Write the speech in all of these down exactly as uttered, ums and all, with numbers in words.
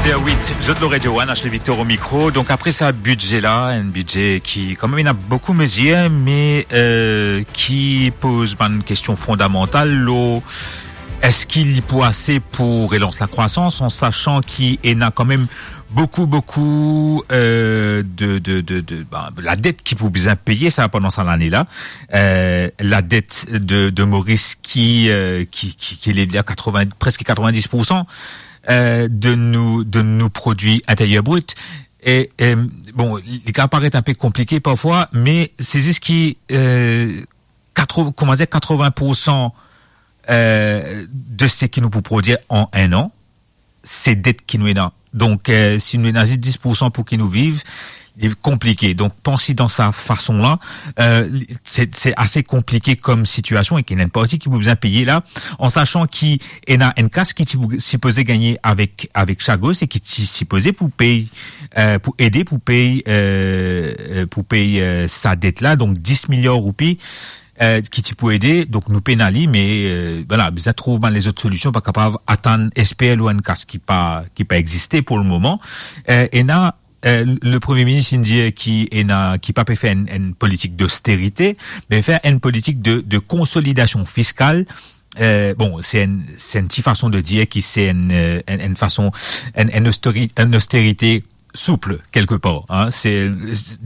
Zot lor Radio One, Ashley Victor o mikro. Donk apre sa bidze la, enn bidze ki kanmem ena boukou mezir, me, euh, ki poz bann kestion fondamantal lor eski li pou ase pou relans lakrwasans, an sasan ki ena kanmem boukou, boukou, euh, de, de, de, de, ben, ladet ki pou bizin peye sa pandan sa lane la. Euh, ladet de, de Moris ki, euh, ki, ki, ki leve a katrevin, preske katrevin-dis poursan, euh, de nou, de nou prodwi interyer brit. E, e, bon, li kapav paret inpe konplike parfwa, me se zis ki, euh, katro-, kouma dir, katrevin poursan, euh, de seki nou pou prodwir an enn an, se det ki nou ena. Donk, euh, si nou ena zis dis poursan pou ki nou viv, li konplike. Donk, panse dan sa fason la, euh, li, se, se ase konplike kom sitiasion e ki ena enn parti ki pou bizin peye la, an sasan ki ena enn kas ki ti pou, sipoze gagne avek, avek Chagos e ki ti sipoze pou pey, euh, pou ede pou pey, euh, euh, pou pey, euh, sa det la, donk dis miliar roupi, euh, ki ti pou ede, donk nou pena li, me, euh, vwala, bizin trouv bann lezot solision, pa kapav atann, esper lor enn kas ki pa, ki pa existe pou lemoman. Euh, ena, euh, le Premie Minis inn dir ki ena, ki pa pe fer enn, enn politik dosterite, me fer enn politik de, de konsolidasion fiskal. Euh, bon, se enn, se enn ti fason de dir ki se enn, euh, enn, enn fason, enn, enn ostori-, enn osterite souple, quelque part, hein. Se,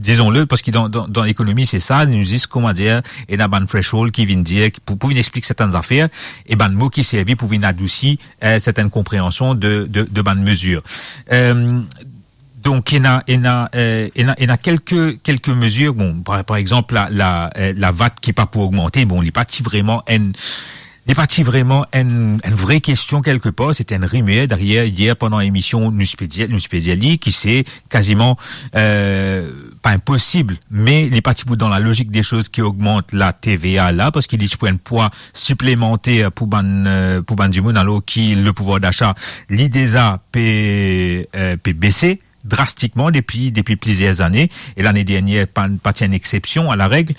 dizon le, parski dan, dan, dan lekonomi, se sa, nou zis, kouma dir, ena bann threshold ki vinn dir, pou, pou vinn explik sertenn zafer, e bann mo ki servi pou vinn adousi, euh, sertenn konpreansion de, de, de bann mezir. Euh, donk, ena, ena, euh, ena, ena kelke, kelke mezir. Bon, par, par exanp, la, la, euh, la vat ki pa pou ogmante, bon, li pa ti vreman enn, li pa ti vreman enn, enn vre kestion kelke par, se ti enn rimer. Dayer, yer, pandan lemision, nou ti pe dir, nou ti pe dir li, ki se kaziman, euh, pa inposib, me li pa ti pou dan lalozik de soz ki ogmant la T V A la, parski li ti pou enn pwa siplemanter pou bann, euh, pou bann dimoun, alor ki le pouvwar dasa, li deza pe, euh, pe bese drastikman depi, depi plizier zane, e lane dernier, pa, pa ti enn exsepsion a lareg.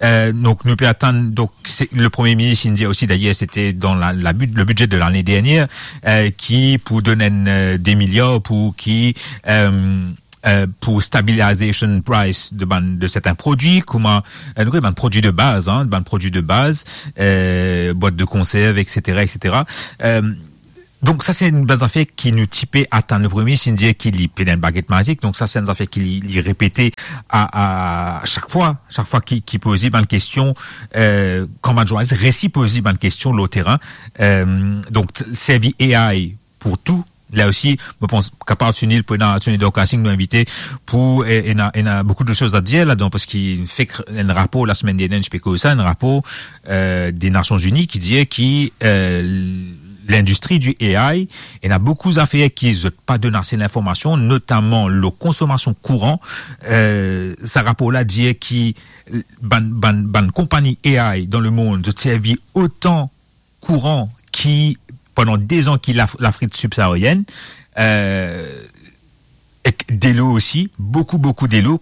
Euh, donk, nou pe atann, donk, se, le Premie Minis inn dir osi, dayer, se ti dan la, la bid-, le bidze de lane dernier, euh, ki pou donn enn, euh, de miliar pou ki, euh, euh, pou stabilization price de bann, de sertenn prodwi, kouma, euh, nou konnen bann prodwi de baz, hein, bann prodwi de baz, euh, bwat de konserv, et cetera, et cetera. Euh, Donk, sa se enn bann zafer ki nou ti pe atann. Le Premie Minis inn dir ki li pena enn baget mazik, donk sa se enn zafer ki li, li repete a, a sak fwa, sak fwa ki, ki poze bann kestion, euh, kan bann zournalis resi poze bann kestion lor terin. Euh, donk, t-, servi A I pou tou. La osi, mo pans kapav Sunil, pou ena, Sunil Dorkasing nou invite pou, e, ena, ena boukou de soz a dir ladan, parski fek enn rapor lasemenn dernier, nou ti pe koz sa, enn rapor, euh, de Nasion Zini ki dir ki, euh, lindistri di A I, ena boukou zafer ki zot pa donn ase linformasion, notaman lor konsomasion kouran. Euh, sa rapor la dir ki bann, bann, bann konpagni A I dan lemond, zot servi otan kouran ki pandan de zan ki Laf-, Lafrik sibsaharienn, euh, ek delo osi, boukou, boukou delo.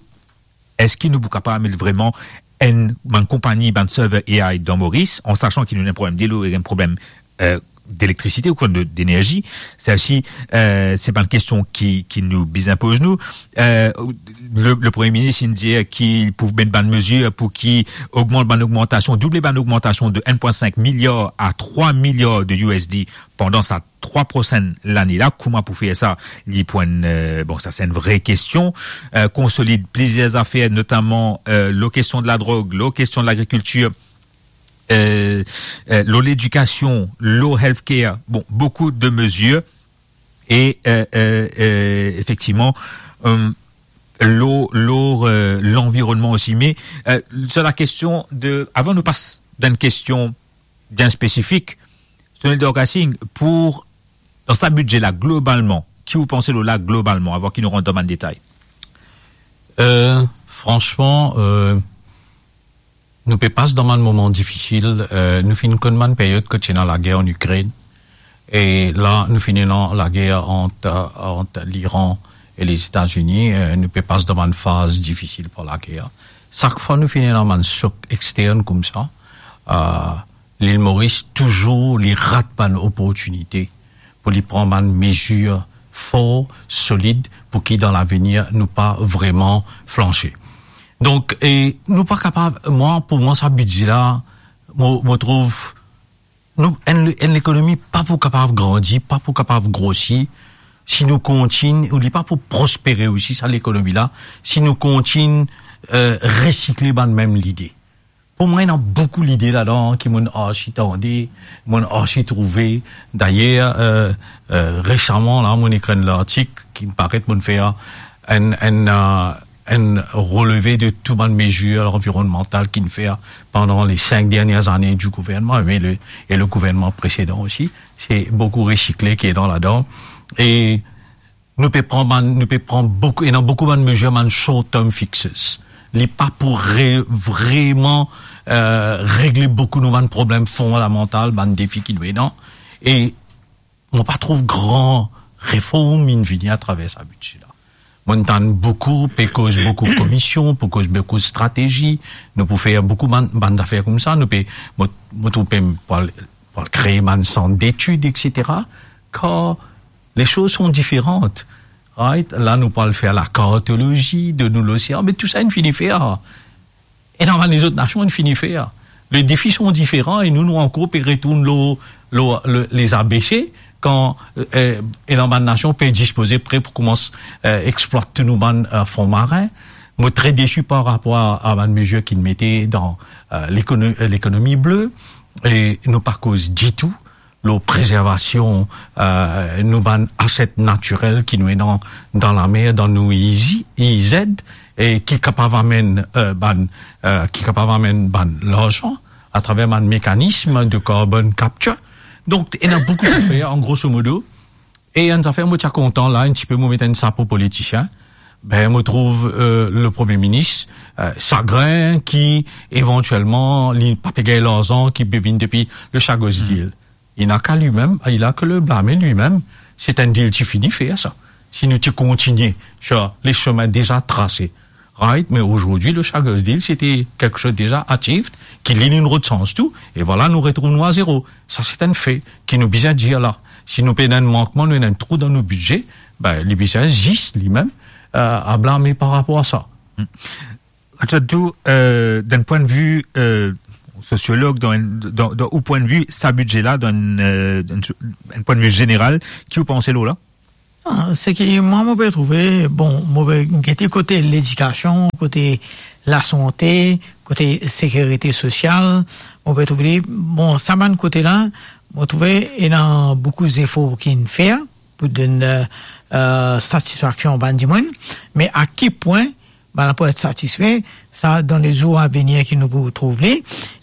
Eski nou pou kapav met vreman enn, bann konpagni, bann server A I dan Moris, an sasan ki nou ena enn problem delo e enn problem, euh, delektrasite ou de, denerzi? Sa osi, euh, se bann kestion ki, ki nou bizin poz nou. Euh, le, le Premie Minis inn dir ki pou met bann mezir pou ki ogmant bann ogmantasion, double bann ogmantasion de enn pwin sink miliar a trwa miliar de U S D pandan sa trwa prosenn lane la. Kouma pou fer sa? Li pou enn, euh, bon, sa se enn vre kestion. Euh, konsolid plizier zafer, notaman, euh, lor kestion de ladrog, lor kestion de lagrikiltir, euh, euh, lor ledikasion, lor healthcare. Bon, boukou de mezir. E, euh, euh, euh, efektivman, euh, lor, lor, euh, lanvironnman osi. Me, euh, sir la kestion de, avan nou pas dan enn kestion bien spesifik, Sunil Dorkasing, pou, dan sa bidze la, globalman, ki ou panse lor la globalman, avan ki nou rant dan bann detay? Euh, fransman, euh, nou pe pas dan bann moman difisil. Euh, nou finn konn bann period kot ti ena lager an Ikrenn. E la, nou finn ena lager ant, ant Liran e Lezetazini. Euh, nou pe pas dan bann faz difisil par lager. Sak fwa nou finn ena bann sok extern koumsa, euh, Lil Moris touzour li rat bann oportinite pou li pran bann mezir for, solid, pou ki dan lavenir nou pa vreman flanse. Donk, e nou pa kapav, mwa, pou mwa, sa bidze la, mo, mo trouv, nou, enn, enn lekonomi pa pou kapav grandi, pa pou kapav grosi, si nou kontign, ou li pa pou prospere osi, sa lekonomi la, si nou kontign, eh, resikle bann mem lide. Pou mwa, ena boukou lide ladan ki mo'nn arsi tande, mo'nn arsi trouve. Dayer, eh, eh, resaman la, mo'nn ekrir enn lartik ki paret, mo'nn fer enn, enn, eh, enn releve de tou bann mezir anvironmantal ki'nn fer pandan le sink dernie ane di gouvernman, e le, e le gouvernman presedan osi. Se boukou resikle ki ena ladan. E nou pe pran bann, nou pe pran boukou, ena boukou bann mezir, bann short term fixes. Li pa pou re-, vreman, eh, regle boukou nou bann problem fondamantal, bann defi ki nou ena. E mo pa trouv gran reform inn vini atraver sa bidze la. Mo'nn tann boukou, pe koz boukou komision, pe koz boukou stratezi, nou pou fer boukou bann, bann zafer koumsa, nou pe, mo, mo trouv pe pou al, pou al kree bann sant detid, et cetera. Kar les choses sont différentes, right? La, nou pou al fer lakartolozi de nou losean, me tou sa inn fini fer. E dan bann lezot nasion, inn fini fer. Les défis sont différents e nou, nou ankor pe retourn lor, lor, le, les A B C, kan, eh, ena bann nasion pe dispoze pre pou koumans, eh, explwat tou nou bann, eh, fon marin. Mo tre desi par rapor a, a bann mezir ki'nn mete dan, eh, lekono-, eh, lekonomi ble. E nou pa koz ditou lor prezervasion, eh, nou bann aset natirel ki nou ena dan lamer, dan nou izi-, ized, e ki kapav amenn, eh, bann, eh, ki kapav amenn bann larzan atraver bann mekanism de carbon capture. Donk, ena boukou zafer, an groso modo. E enn zafer mo ti a kontan la, enn tipe mo met enn sapo politisien, be, mo trouv, eh, le Premie Minis, eh, sagrin ki evantielman li pa pe gagn larzan ki pe vinn depi le Chagos Deal. Il n'a qu'à lui-même, il a que le blâmer lui-même. Se enn deal ti fini fer sa. Si nou ti kontigne sir le semin deza trase, right? Me azordi, le Chagos Deal, se te kiksoz deza achieved, ki li, linn rod sans tou, e vwala, nou retrouv nou a zero. Sa, se enn fe ki nou bizin dir la. Si nou pe ena enn mankman, nou ena enn trou dan nou bidze, be, li bizin zis, limem, eh, a blame par rapor a sa. Richard, tou, eh, dan pwin de vi, eh, sosiolog, dan, dan, dan ou pwin de vi, sa bidze la, dan, eh, dan enn pwin de vi zeneral, ki ou panse lor la? Ah, seki mwa, mo pe trouve, bon, mo pe gete kote ledikasion, kote lasante, kote sekirite sosial, mo pe trouve li, bon, sa bann kote la, mo trouve ena boukou zefor ki'nn fer pou donn, eh, eh, satisfaksion bann dimoun, me a ki pwin bann la pou et satisfe, sa dan le zour a venir ki nou pou trouv li.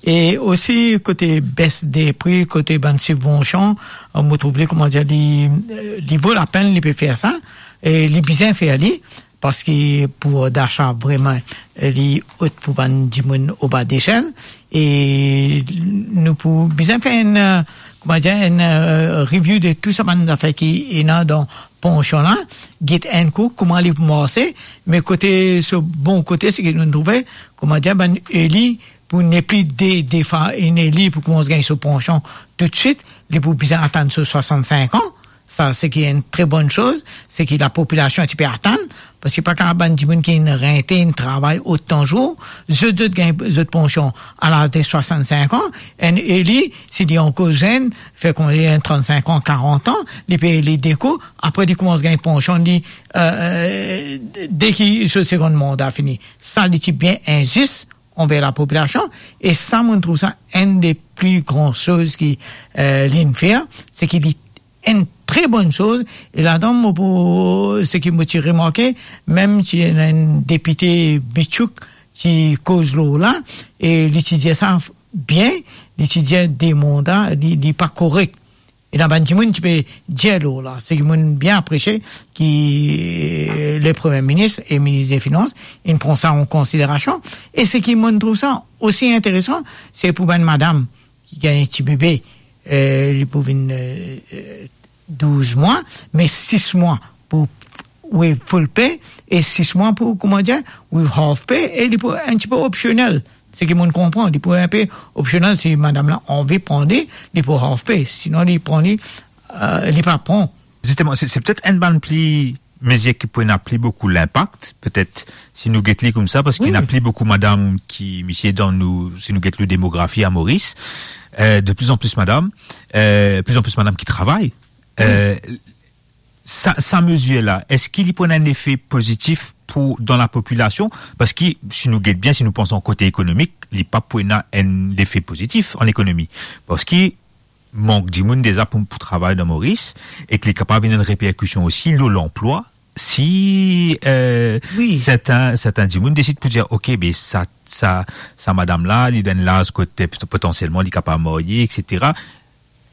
E osi kote bes de pri, kote bann sibvansion, eh, mo trouv li, kouma dir, li, eh, li vo lapenn, li pe fer sa, e li bizin fer li, parski pou dasa vreman, eh, li ot pou bann dimoun oba desel, e nou pou bizin fer enn, eh, kouma dir, enn, eh, review de tou sa bann zafer ki ena dan pansion la, get enn kou kouma li pou marse, me kote so bon kote, seki nou trouve, kouma dir, bann eli pou nepli de, defa enn eli pou koumans gagn so pansion toutswit, li pou bizin atann so swasannsink an. Sa, seki enn tre bonn soz, seki lapopilasion ti pe atann, parski pa kapav bann dimoun ki inn rente, inn travay otan zour, zot, zot gagn zot pansion a laz de swasannsink an. Enn eli, si li ankor zenn, fer kouma li ena trannsink an, karant an, li pe eli de kou, apre li koumans gagn pansion li, eh, de ki so segonn manda fini. Sa, li ti bien inzis anver lapopilasion, e sa, mo trouv sa enn de pli gran soz ki, eh, linn fer, seki li enn tre bonn soz, e ladan mo pou, seki mo ti remarke, mem ti ena enn depite bitsouk ti koz lor la, e li ti dir sa bien, li ti dir de manda, li, li pa korek. E ena bann dimoun ti pe dir lor la, seki mo'nn bien apresie ki, eh, le Premie Minis e Minis de Finans, inn pran sa an konsiderasion. E seki mo'nn trouv sa osi interesan, se pou bann madam ki gagn ti bebe, eh, li pou vinn, eh, eh, douz mwa, me sis mwa pou with full pay, e sis mwa pou, kouma dir, with half pay, e li pou enn tipe opsionel. Seki mo'nn konpran, li pou enpe opsionel, si madam la anvi pran li, li pou half pay, sinon li pran li, eh, li pa pran Zisteman, se, se petet enn bann pli, mezir ki pou ena pli boukou linpak, petet, si nou get li koumsa, parski Wi. ena pli boukou madam ki, misie, dan nou, si nou get nou demografi a Moris, eh, de pli an pli madam, eh, pli an pli madam ki travay. Eh, sa, sa mezir la, eski li pou ena enn lefe pozitif pou, dan lapopilasion? Parski, si nou get bien, si nou panse an kote ekonomik, li pa pou ena enn lefe pozitif an ekonomi. Parski, mank dimoun deza pou, pou travay dan Moris, ek li kapav ena enn reperkision osi lor lanplwa, si, eh, Wi. sertin, sertin dimoun desid pou dir, "Ok, be sa, sa, sa madam la, li dan enn laz kot potansielman li kapav marye, etsetera."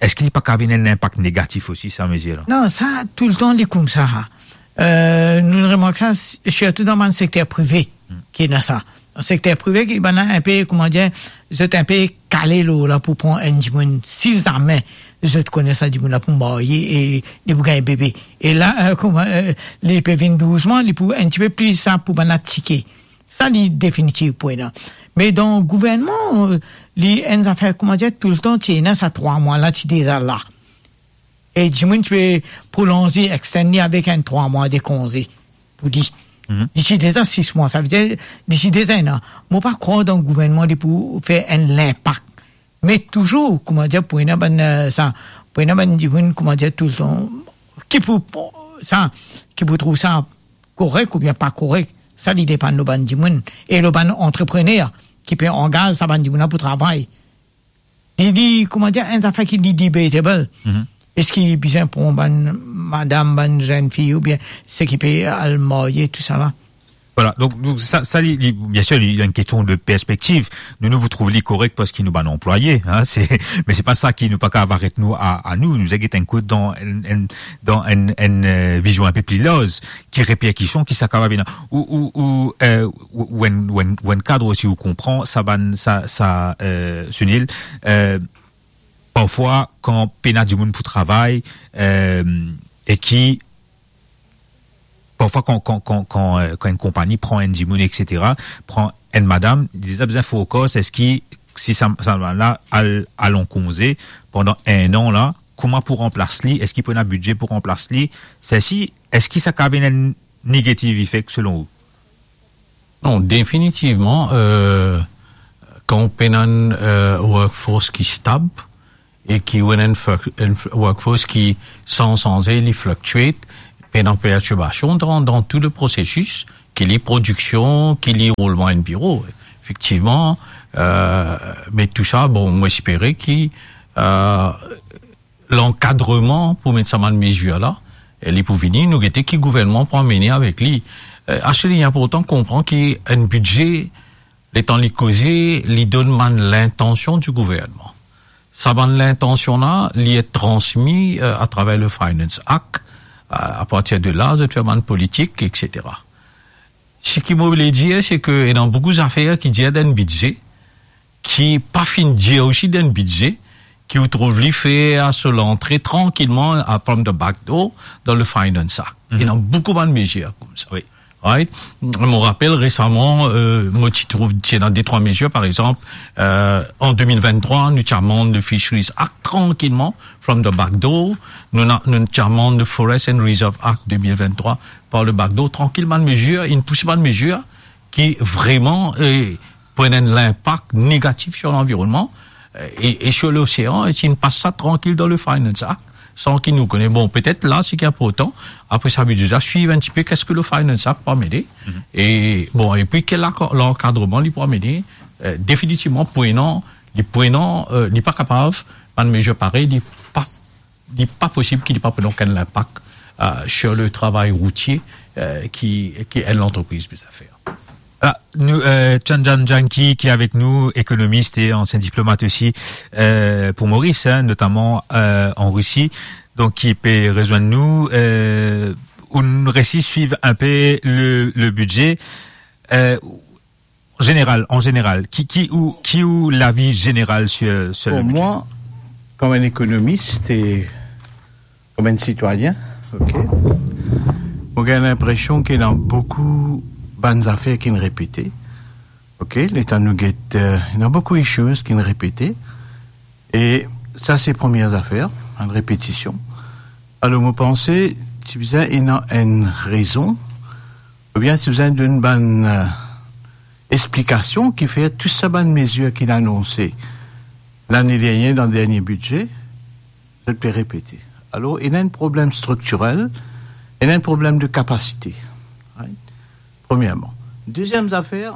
Eski li pa kapav ena enn linpak negatif osi, sa mezir la? Non, sa, toultan, li koumsa, ha. Eh, nou remark sa, s-, sirtou dan bann sekter prive, Hmm. ki ena sa. Dan sekter prive, ki bann la enpe, kouma dir, zot enpe kale lor la pou pran enn dimoun, si zame zot kone sa dimoun la pou marye e li pou gagn bebe. E la, eh, kouma, eh, li pe vinn douzman, li pou enn tipe pli sa pou bann la tike. Sa, li definitif pou ena. Me dan gouvernman, eh, li enn zafer, kouma dir, toultan, ti ena sa trwa mwa la, ti deza la. E dimoun ti pe prolonze, extend li avek enn trwa mwa de konze pou li. Mhm. Li ti deza sis mwa, savedir, li ti deza enn an. Mo pa krwar dan gouvernman li pou fer enn linpak. Me touzour, kouma dir, pou ena bann, eh, sa, pou ena bann dimoun, kouma dir, toultan, ki pou, sa, ki pou trouv sa korek oubien pa korek, sa li depann lor bann dimoun e lor bann antreprener ki pe angaz sa bann dimoun la pou travay. Li, li, kouma dir, enn zafer ki li debatable. Mhm. Eski bizin pran bann madam, bann zenn fi, oubien seki pe al marye, tousala? Vwala, donk, donk sa, sa li, li, biensir, li, li enn kestion de perspektiv. Nou, nou pou trouv li korek parski nou bann anplwaye, hein, se, me se pa sa ki nou pa kapav aret nou a, a nou. Nou, nou get enn kout dan enn, enn, dan enn, enn, eh, vizion enpe pli larz, ki reperkision ki sa kapav ena. Ou, ou, ou, eh, ou, ou enn, ou enn, ou enn kad osi ou konpran sa bann, sa, sa, eh, Sunil, eh, parfwa, kan pena dimoun pou travay, eh, e ki, parfwa, kan, kan, kan, kan, eh, kan enn konpagni pran enn dimoun, etsetera, pran enn madam, li deza bizin fokis, eski, si sa, sa madam la al, al an konze pandan enn an la, kouma pou ranplas li, eski pou ena bidze pou ranplas li, seki, eski sa kapav ena enn negative effect selon ou? Non, definitivman, eh, kan ou pena enn, eh, workforce ki stab e ki ou ena enn fl-, enn fl-, workforce ki san sanze, li fluctuate, pena perturbasion dan, dan tou le prosesis, ki li prodiksion, ki li roulman enn biro. Efektivman, eh, me tou sa, bon, mo espere ki, eh, lankadreman pou met sa bann mezir la, e li pou vini, nou gete ki gouvernman pou amene avek li. Eh, aster li inportan konpran ki enn bidze, letan li koze, li donn bann lintansion di gouvernman. Sa bann lintansion la, li et transmi, eh, atraver le Finance Act, eh, apartir de la, zot fer bann politik, etsetera. Seki mo le dir, se ke ena boukou zafer ki dir dan enn bidze, ki pa finn dir osi dan enn bidze, ki ou trouv li fer so lantre trankilman, a, from the back door, dan le Finance Act. Mhm. Ena boukou bann mezir koumsa. Wi. Right? Mo rapel resaman, eh, mo ti trouv, ti ena de trwa mezir, par exanp, eh, an de mil venntrwa, nou ti amann le Fisheries Act trankilman, from the back door. Nou na, nou ti amann le Forest and Reserve Act de mil venntrwa par le back door. Trankil, bann mezir, inn pous bann mezir ki vreman, eh, pou ena enn linpak negatif sur lanvironnman, eh, e, e sur losean, e si inn pas sa trankil dan le Finance Act, san ki nou kone. Bon, petet la, seki inportan, apre sa, bidze la, swiv enn tipe, keski le Finance Act pou amene, Mhm. e, bon, epi ki la-, lankadreman li pou amene, eh, definitivman, pou ena, li pou ena, eh, li pa kapav, bann mezir parey, li pa, li pa posib ki li pa pou ena okenn linpak, eh, sur le travay routie, eh, ki, ki enn lantrepriz bizin fer. Vwala, nou, eh, Chanjan Janki ki avek nou, ekonomis e ansien diplomat osi, eh, pou Moris, hein, notaman, eh, an Risi, donk ki pe rezwenn nou, eh, ou'nn resi swiv inpe le, le bidze. Eh, zeneral, an zeneral, ki, ki ou, ki ou lavi zeneral sur, sur le Bon, bidze? Mwa, kom enn ekonomis e kom enn sitwayin, ok, mo gagn linpresion ki ena boukou bann zafer ki'nn repete. Ok, letan nou get, eh, ena boukou issues ki'nn repete. E sa, se premie zafer, enn repetision. Alor, mo panse, ti bizin ena enn rezon, oubien ti bizin donn bann, eh, explikasion ki fer tou sa bann mezir ki inn anonse lane dernie dan dernie bidze, zot pe repete. Alor, ena enn problem striktirel, ena enn problem de kapasite. Right? Premierman. Deziem zafer,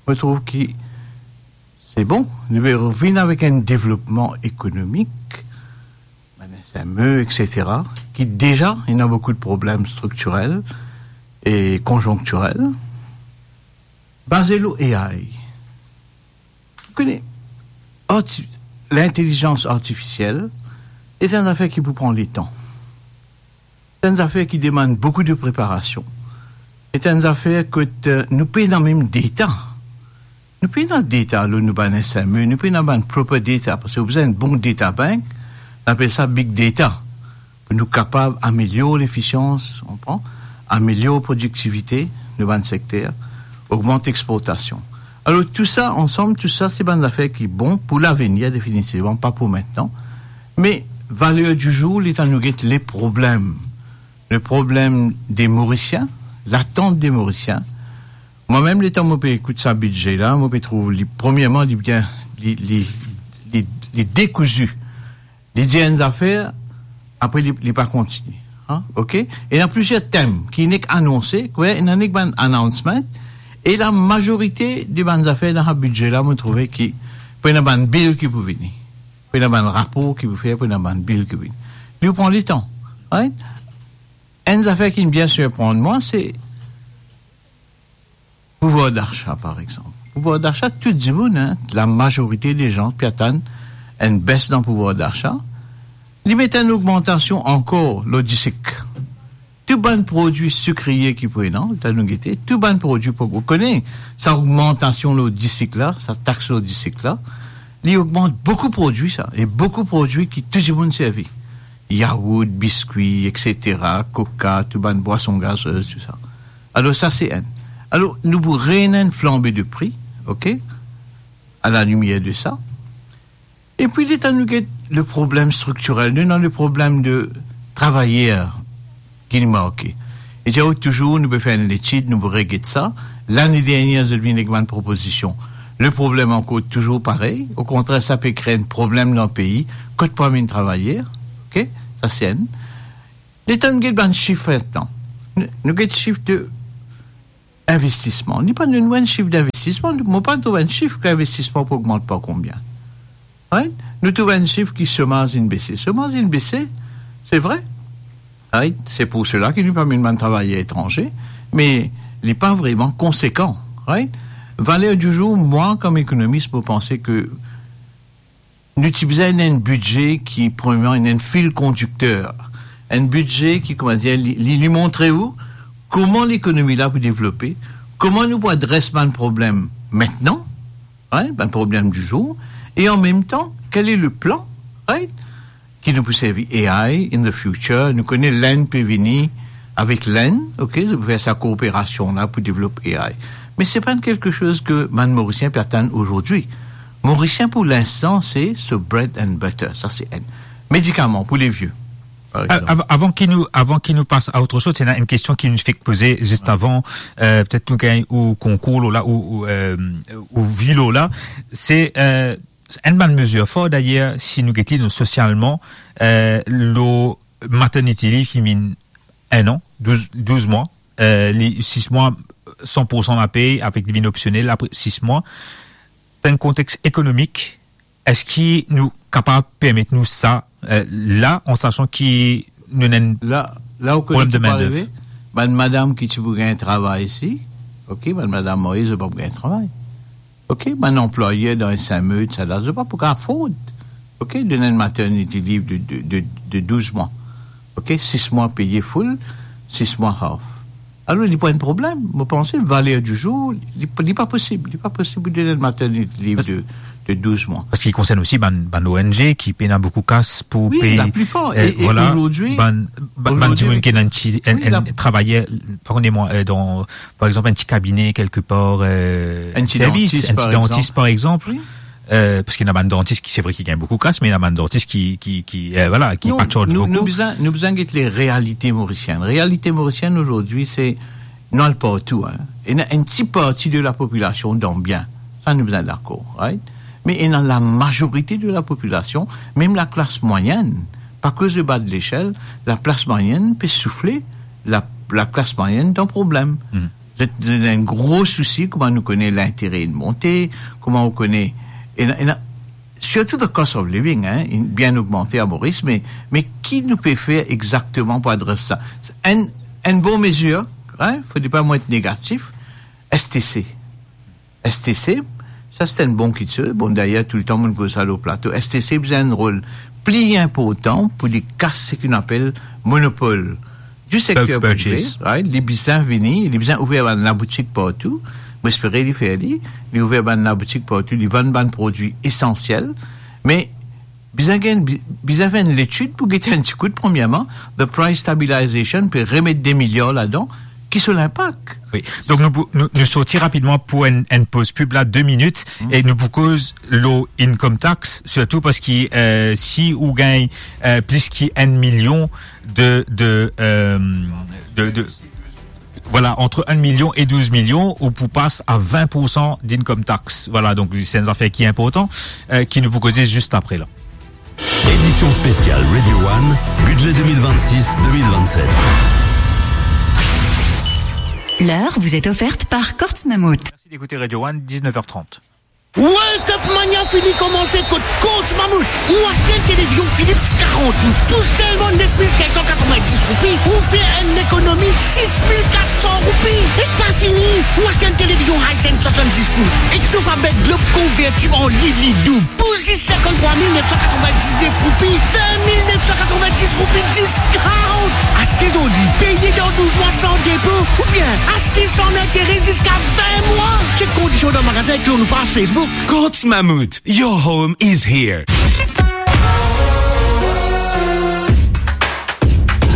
mo trouv ki se bon, nou pe revinn avek enn devlopman ekonomik, bann S M E, et cetera, ki deza ena boukou de problem striktirel e konzonktirel, baze lor A I. Ou kone, arti-, lintelizans artifisiel, se enn zafer ki pou pran letan. Se enn zafer ki demann boukou de preparasion. Se enn zafer kot, eh, nou pena mem data. Nou pena data lor nou bann S M E, nou pena bann proper data, parski ou bizin enn bon data bank, nou apel sa big data, pou nou kapav amelior lefisians, ou konpran, amelior prodiktivite nou bann sekter, ogmant exportasion. Alor, tou sa ansam, tou sa, se bann zafer ki bon pou lavenir, definitivman, pa pou mintnan. Me, valer di zour, letan nou get le problem, le problem de Morisien, latant de Morisien, mwa mem, letan mo pe ekout sa bidze la, mo pe trouv li, premierman, li bien, li, li, li, li dekouzi. Li dir enn zafer, apre li, li pa kontinie. Hein? Ok? Ena plizier tem ki nek anonse, kwe, ena nek bann announcement, e lamazorite de bann zafer dan sa bidze la, mo trouve ki pou ena bann bil ki pou vini. Pou ena bann rapor ki pou fer, pou ena bann bil ki pou vini. Li pran letan. Right? Enn zafer ki bien sirprann mwa, se pouvwar dasa, par exanp. Pouvwar dasa, tou dimoun, hein, lamazorite de zan pe atann enn bes dan pouvwar dasa. Li met enn ogmantasion ankor lor disik. Tou bann prodwi sikrie ki pou ena, letan nou gete, tou bann prodwi pou, ou kone, sa ogmantasion lor disik la, sa tax lor disik la, li ogmant boukou prodwi sa, e boukou prodwi ki tou dimoun servi. Yaourt, biskwi, et cetera, koka, tou bann bwason gazez, tou sa. Alor, sa se enn. Alor, nou pou rena enn flanbe de pri, ok? A la limier de sa. Epi, letan nou get le problem striktirel, nou ena le problem de travayer ki nou manke. E dir, touzour, nou pe fer enn letid, nou pou reget sa. Lane dernie, zot vinn ek bann propozision. Le problem ankor touzour parey. Okontrer, sa pe kre enn problem dan pei. Kot pou amenn travayer? Ok? Sa se enn. Letan nou get bann sif letan. Nou, nou get sif de investisman. Li pa donn nou enn sif dinvestisman. Mo pa trouv enn sif ki investisman pou ogmant par konbien. Right? Nou trouv enn sif ki somaz inn bese. Somaz inn bese, se vre. Right? Se pou sela ki nou pa met bann travayer etranze, me li pa vreman konsekan. Right? Valer di zour, mwa, kom ekonomis, mo panse ke nou ti bizin enn bidze ki, premierman, enn fil kondikter. Enn bidze ki, kouma dir, li, li, li montre ou kouma lekonomi la pou devlope, kouma nou pou adres bann problem mintnan, right, bann problem di zour, e an mem tan, quel est le plan, right, ki nou pou servi A I in the future. Nou kone Lenn pe vini avek Lenn, ok, zot pou fer sa kooperasion la pou devlop A I. Me se pa enn kelke soz ke bann Morisien pe atann azordi. Morisien, pou linstan, se so bread and butter, sa se enn. Medikaman pou le vie, par exanp. Av-, avan ki nou, avan ki nou pas a otre soz, ena enn kestion ki nou fek poze zis avan, euh, petet nou gagn ou konkour la, ou, ou, euh, ou vi la, se, euh, enn bann mezir for, dayer, si nou gete nou sosialman, euh, lor maternity leave ki vinn enn an, douz, douz mwa, euh, li, sis mwa, san pour san lapey, avek li vinn opsionel, apre sis mwa. Dan enn kontex ekonomik, eski nou kapav permet nou sa, euh, la, an sasan ki nou ena enn problem de main d'œuvre? La, la ou kone ki pou arive, bann madam ki ti pou gagn travay isi, ok, bann madam marye, zot pa pou gagn travay. Ok, bann anplwayer dan S M E, sa la, zot pa pou kapav afford, ok, donn enn maternity leave de, de, de, de douz mwa. Ok, sis mwa peye full, sis mwa half. Alor, li pou enn problem. Mo panse, valer di zour, li, li pa posib. Li pa posib pou donn enn maternity leave de, de douz mwa. Parski li konsern osi bann, bann O N G ki pena boukou kas pou pey, laplipar. E, e vwala, azordi, bann, bann, bann dimoun ki ena enn ti, enn, enn travayer, pardonnez-moi, euh, dan, par exanp, enn ti kabine kelkepar, euh, enn ti servis, dantis, par exanp. Enn ti dantis, par exanp. Wi. Euh, parski ena bann dantis ki, se vre ki gagn boukou kas, me ena bann dantis ki, ki, ki, euh, vwala, ki pa charge nou, boukou. Nou bizin, nou bizin get le realite morisienn. Realite morisienn azordi, se nou al partou, hein. Ena enn ti parti de lapopilasion dan bien. Sa, nou bizin dakor, right? Me ena lamazorite de lapopilasion, mem laklas mwayenn, pa koz le ba de lesel, laklas mwayenn pe soufre, la, laklas mwayenn dan problem. Hmm. Zot, zot ena enn gro sousi, kouma nou kone lintere inn monte, kouma ou kone, ena, ena, sirtou the cost of living, hein, inn bien ogmante a Moris, me, me ki nou pe fer exakteman pou adres sa? Enn, enn bon mezir, hein, fode pa mo et negatif, S T C. S T C, sa se enn bon kiksoz. Bon, dayer, touletan mo'nn koz sa lor plato. S T C bizin enn rol pli inportan pou li kas seki nou apel monopol di sekter prive, right? Li bizin vini, li bizin ouver bann laboutik partou. Mo espere li fer li. Li ouver bann laboutik partou, li vann bann prodwi esansiel. Me bizin gagn, bi-, bizin fer enn letid pou get enn ti kout, premierman, the price stabilization, pe remet de miliar ladan, ki so linpak? Wi. Donk nou pou, nou, nou sorti rapidman pou enn, enn poz pib la, de minit, e nou pou koz lor income tax, sirtou parski, euh, si ou gagn, euh, plis ki enn milion de, de, euh, de, de, vwala, ant enn milion e douz milion, ou pou pas a vin poursan d'income tax. Vwala, donk se enn zafer ki inportan, euh, ki nou pou koze zis apre la. Édition spéciale Radio One, budget deux mille vingt-six deux mille vingt-sept. L'heure vous est offerte par Courts Mammouth. Merci d'écouter Radio One, dix-neuf heures trente. World Cup Mania fini komanse kot Courts Mammouth. Ou aste enn televizion Philips karant pous pou selman nef mil sink san katrovin-dis roupi, ou fer enn lekonomi sis mil kat san roupi. E pa fini, ou aste enn televizion Hisense swasann-dis pous ek sofa bed Globe konvertib an lit lit doub pou zis sinkant-trwa mil nef san katrovin-diznef roupi, vin mil nef san katrovin-dis roupi discount. Aste zordi, peye dan douz mwa san depo, oubien aste san lintere ziska vin mwa. Chek kondision dan magazin ek lor nou paz Facebook. Courts Mammouth, your home is here.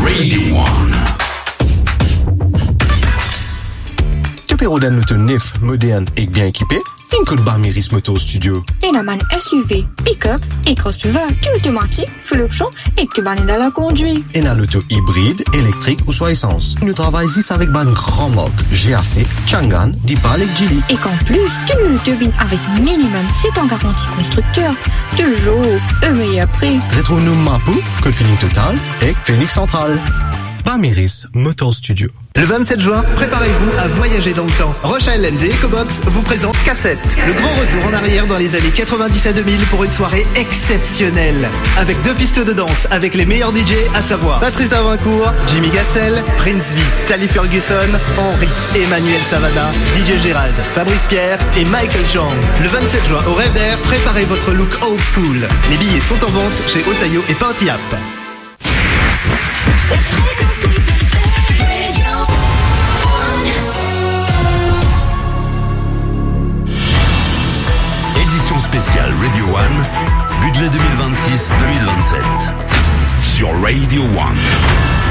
Radio One. To pe rod enn loto nef, modern ek bien ekipe? Vinn kot Bamiris Motor Studio. Ena bann S U V, pick-up e crossover, ki otomatik, full option ek ki bann ena lakondwit. Ena loto ibrid, elektrik ouswa esans. Nou travay zis avek bann gran mark, G A C, Changan, Deepal ek Geely. Ek an plis, tou nou loto vinn avek minimum set an garanti konstrikter, touzour o meyer pri. Retrouv nou Mapou, kot Feeling Total ek Phoenix Central. Bamiris Motor Studio. Le vingt-sept juin, préparez-vous à voyager dans le temps. Roche Island et Ecobox vous présentent Cassette, le grand retour en arrière dans les années quatre-vingt-dix à deux mille pour une soirée exceptionnelle. Avec deux pistes de danse avec les meilleurs D J, à savoir Patrice Darvincourt, Jimmy Gassel, Prince V, Tally Ferguson, Henry, Emmanuel Savannah, D J Gérald, Fabrice Pierre et Michael Chang. Le vingt-sept juin au Rêve d'Air, préparez votre look old school. Les billets sont en vente chez Otayo et Party App. Édition spéciale Radio One, budget deux mille vingt-six deux mille vingt-sept, sur Radio One.